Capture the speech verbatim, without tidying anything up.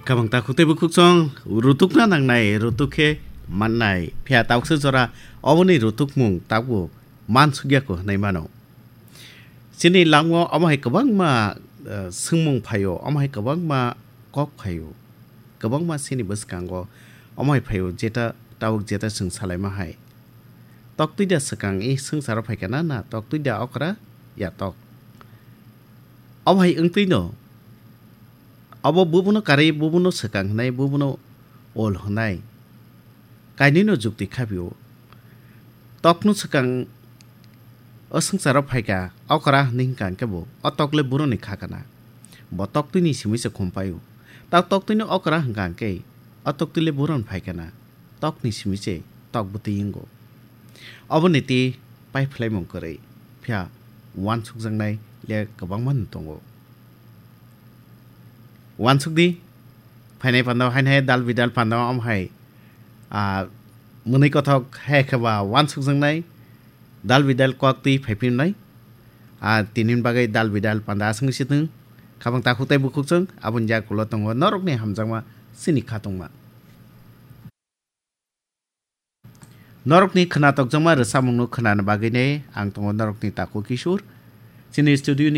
Kabang takhuk tei bukhuk chwng rutukna nangnai, rutuk khe mannai. Phiya tauksa jora oboni rutukmung tabuk mansukya ko hwnwi mano. Chini lango omo hai kwbangma, eh, swngmung phaio, omo hai kwbangma kok phaio, kwbangma chini bwskango omo hai phaio, jeta tabuk jeta chwng salaima hai. Toktwi da swkang i swngcharo phaikha na, na toktwi da okra ya tok? Omo hai wngtwi no, obo bubuno karwi bubuno swkang hwnai, bubuno ol hwnai, kainwino jukti khabio. Tokno swkang o swngcharo phaikha, okra hwnwi hwnkha hwnkhe bo o tok le buroni kha kana. Bo toktwini simi se khum paio. Ta toktwini okra hwnkha hwnkhe o toktwi le buroni phai kana. Tokni simi se tok bwtwi wngo. Oboni tei pai phlaimung kwrwi, phiya uansukjaknai le kwbangma no tongo. Uansuk di, phainai panda o haino hai dal bidal panda o omo hai, ah, mwnwi kothok hai khe ba uansukjaknai dal bidal kok twi phai phimnai. Ah, tini bagwi dal bidal panda aswk se thung. Khabang takhuk tei bukhuk chwng aboni yakulo tongo norokni hamjakma chini khatungma. Norokni khwnatok jongma rwchapmungno khwnani bagwini ang tongo norokni takhuk Kishore. Chini studio ni